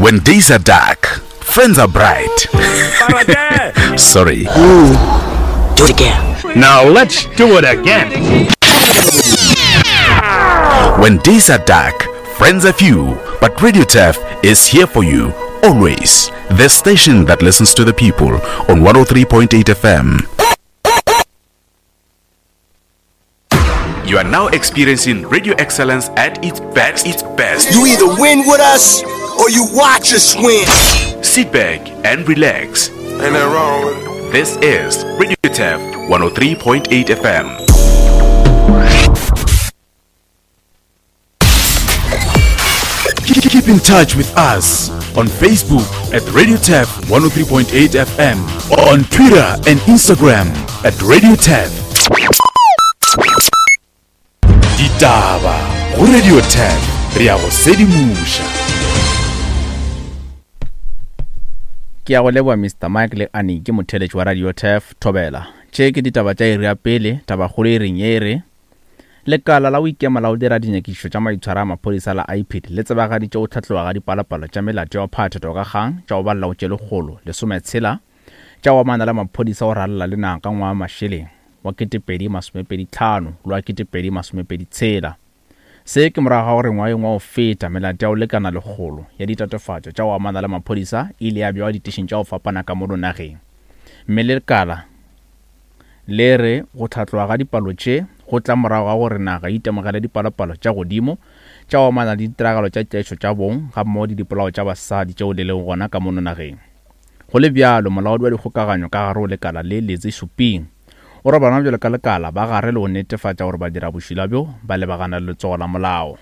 When days are dark, friends are bright. Sorry. Do it again. Now let's do it again. When days are dark, friends are few, but Radio Turf is here for you always. The station that listens to the people on 103.8 FM. You are now experiencing radio excellence at its best. Its best. You either win with us or you watch us win. Sit back and relax. Ain't nothing wrong with it. This is Radio Turf 103.8 FM. Keep in touch with us on Facebook at Radio Turf 103.8 FM, on Twitter and Instagram at Radio Turf. Ditaba go Radio Turf re ya go sedimoša. Ke ya go leboa Mr Mike le Annie ke motheeletši wa Radio Turf Thobela. Tše ke ditaba tša iri ya pele, tabakgolo e reng ye e re Lekala la go ikema la go dira dinyakišišo tša maitshwaro a maphodisa la IPID le tsebagaditše go hlatloga ga dipalopalo tša melato ya go phatha toka kgang tša go balela go tše 160 tša go amana le maphodisa go ralala le naga ka ngwaga wa mašeleng wa 2025 le wa 2026. Se ke morago ga gore ngwageng wa go feta melato ya go lekana lekgolo ya ditatofatšo tša go amana le maphodisa e ile ya bewa ditešing tša go fapana ka mono nageng mme lekala Le re go hlatloga ga dipalo tše go tla morago ga gore naga e itemogele dipalopalo tša godimo tša go amana le ditiragalo tša tlaišo tša bong gammogo le dipolao tša basadi tšeo di lego gona ka mono nageng. Go le bjalo, molaodi wa dikgokaganyo ka gare go lekala le, Lizzy Shuping, o re bona bjalo ka lekala ba gare le go netefatša gore badirabošula bjo ba lebagana le letsogo la molao.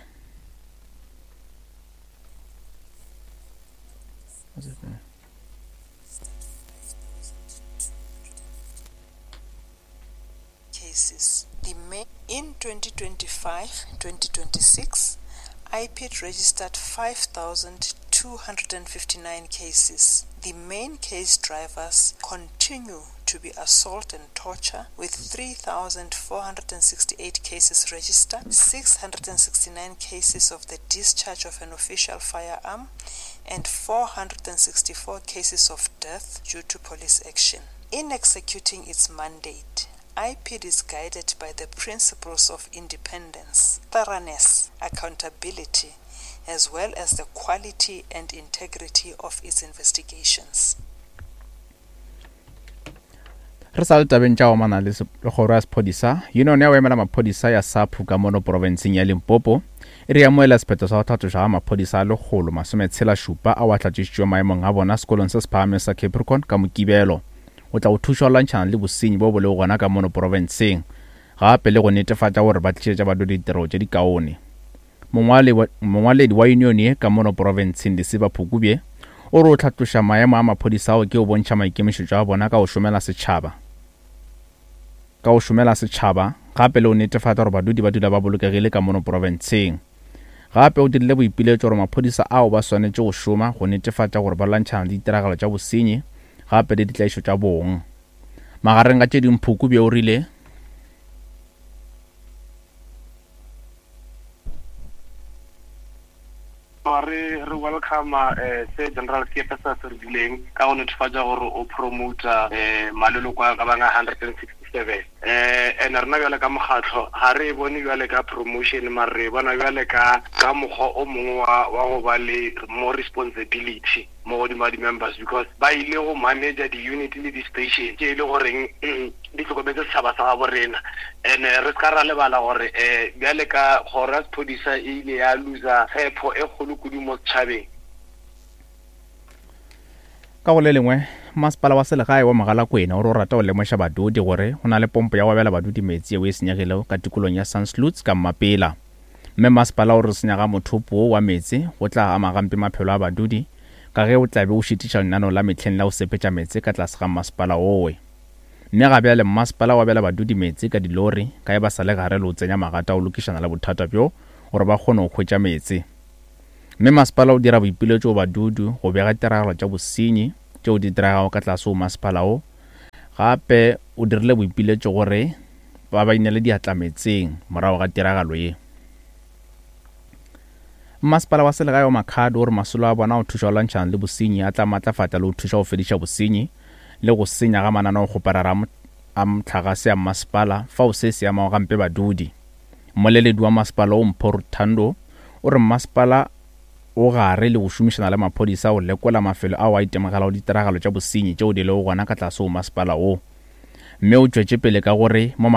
Cases. The main in 2025-2026, IPID registered 5,259 cases. The main case drivers continue to be assault and torture, with 3,468 cases registered, 669 cases of the discharge of an official firearm, and 464 cases of death due to police action. In executing its mandate, IPID is guided by the principles of independence, thoroughness, accountability, as well as the quality and integrity of its investigations. Re sa le tabeng tša go amana le kgoro ya sephodisa, Union ya go emela maphodisa ya SAPU ka mono profenseng ya Limpopo e re amoela sephetho sa go hlatlošwa ga maphodisa a lekgolo masometshela šupa ao a hlatlošitšwego maemong a bona sekolong se se phagamego sa Capricorn ka Mokibelo go tla go thuša go lwantšhana le bosenyi bo bo lego gona ka mono profenseng gape le go netefatša gore ba tlišetša badudi ditirelo tše dikaone. Mongwaledi wa yunione ye ka mono profenseng Lesiba Phukubye o re o hlatloša maemo a maphodisa ao ke go bontšha maikemišetšo a bona ka go šomela setšhaba ka go šomela setšhaba gape le go netefatša gore badudi ba dula ba bolokegile ka mono profenseng. Gape o dirile boipiletšo gore maphodisa ao ba swanetše go šoma go netefatša gore ba lwantšhana le ditiragalo tša bosenyi gape le ditlaišo tša bong. Magareng ga tše dingwe Phukubye o rile. Re re welcome se General Seepe sa se rileng ka go netefatša gore o promota maleloko a ka bang a 167. And rena bjale ka mokgatlo ga re e bone bjale ka promotion, mare re e bona bjale ka ka mokgwa o mongwe wa wa go ba le more responsibility mo godimo ga di-members, because ba ile go manager di-unit le di-station tše e le goreng di hlokometse setšhaba sa gabo rena. And re se ka ra lebala gore um bjale ka kgoro ya sephodisa e ile ya loser tshepo e kgolo kudu mo setšhabeng. Ka go le lengwe, masepala wa selegae wa Mogalakwena o re o rata go lemoša badudi gore go na le pompo ya go abela badudi meetse yeo e senyegilego ka tikolong ya Sandsluits ka Mmapela. Mme masepala o re senya ga mothopo wo wa meetse go tla ama gampe maphelo a badudi ka ge o tla be o šitiša lenaneo la mehleng la go sepetša meetse ka tlase ga masepala owe. Mme ga bjale mmasepala o abela badudi meetse ka dilori ka ge ba sa le gare le go tsenya magata go lokišana le bothata bjo gore ba kgone go hwetša meetse. Mme masepala o dira boipiletšo go badudu go bega ditiragalo tša bosenyi tšeo di diregago ka tlase go masepala wo. Gape o dirile boipiletšo gore ba ba inele diatla meetseng morago ga tiragalo ye. Mmasepala wa selegae wa Makhado o re masolo a bona a go thuša go lwantšhana le bosenyi a tla matlafatša le go thuša go fediša bosenyi le go senya ga mananeokgoparara a mohlagase a mmasepala fao se se amago gampe badudi. Mmoleledi wa masepala wo Mpho Ruthando o re mmasepala o gare le go šomišana le maphodisa go lekola mafelo ao a itemogelago ditiragalo tša bosenyi tšeo di lego gona ka tlase go masepala wo. Mme o tšwetše pele ka gore mo.